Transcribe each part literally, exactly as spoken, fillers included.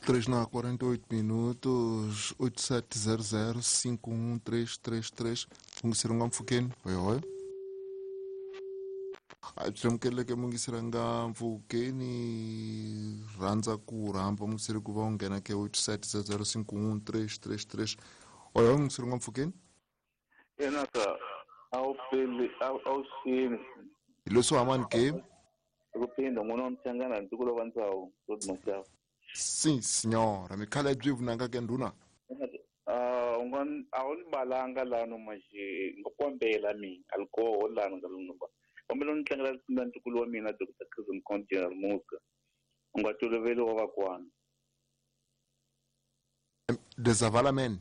três na quarenta e oito minutos, oito sete zero zero cinco um três três três. Mungisiranga mfukeni. Oi, oi. Byi mungisiranga mfukeni rhandza ku rhamba mungisiri ku va u nghena ke oito sete zero zero cinco um três três três. Oi, oi, mungisiranga mfukeni. Enaka awu pele awu xini. Hi leswi hamani ke? Kupinda n'wana wa Mchangana ntukulu wa Ntsau, Rod Mashava. Sim, senhora. Mikhala byi vunanga ke ndhuna? Ah, u nga a wu ni balanga lano maje nga kombela mina alcohol lano nga lano ba. Kombela ni tlangela na ntukulu wa mina Doctor Chris Mkhonto General Muska. U nga toloveli wa vakwana. Desavalamen.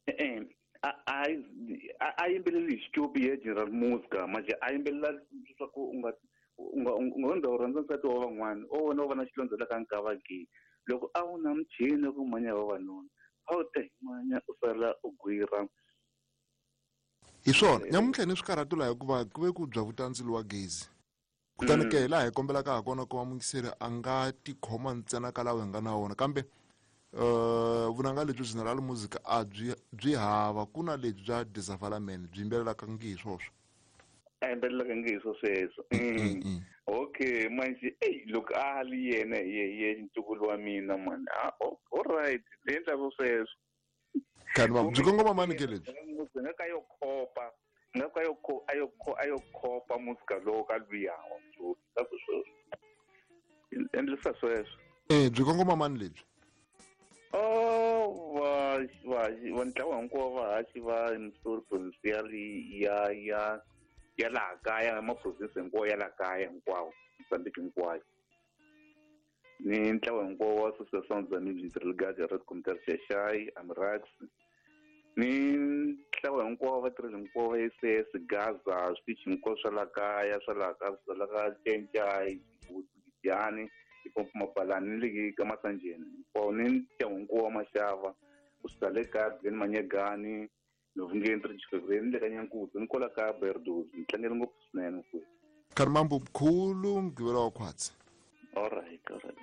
Eh a a a yimbeleli xicopi ya General Muska maje a yimbelela leswaku u nga u nga u nga u rhandza nsati wa van'wana o wena u va na xilondza la ka nkava ke loko a wu na muchini ku manya vavanuna a wu ta manya u sala u gwira. Hi swona nyamuntlha ni swikarhato laha hikuva ku ve ku bya vutandzilo wa gezi kutani ke laha hi kombelaka ha kona ku va mungiseri a nga tikhoma ntsena ka lawa hi nga na wona kambe uh vunanga lebyi General Music a byi byi hava ku na lebyi bya Desavalamen byi yimbelelaka ngi hi swoswo. A yimbelelaka ngi hi swo sweswo. Okay manje ey loko a li yena ye ye ntukulu wa mina man. Ah all right le endla swo sweswo. Kanti ba byi kongoma mani ke lebyi? Nga ka yo khopa nga ka yo kho ayo kho ayo khopa musika lowo ka luyawa ka sweswo. Endlisa sweswo. Eh byi kongoma mani lebyi? Oh va va va ntlawa hinkwawo vahaxi va Mstori provincial ya ya ya laha kaya ma province hinkwawo ya laha kaya hinkwawo Mozambique hinkwayo ni ntlawa hinkwawo wa Association za Music Brigade Red Commuter Xaxai Amrax ni ntlawa hinkwawo vatirhi hinkwawo va S S Gaza switichi hinkwaswo swa laha kaya swa laha ka swa laha ka Cencai Giyani Ipompo Mapalani ni le ka Masanjeni hinkwawo ni ntlawa hinkwawo wa Maxava kusuka le ka Glen Manyegani Novungeni Trixiveni le ka Nyankudzi ni kwala ka Berdozi ni tlangele ngopfu swinene mfowethu. Kharimambo mkhulu mgqivelo wa khwatsi. All right, all right.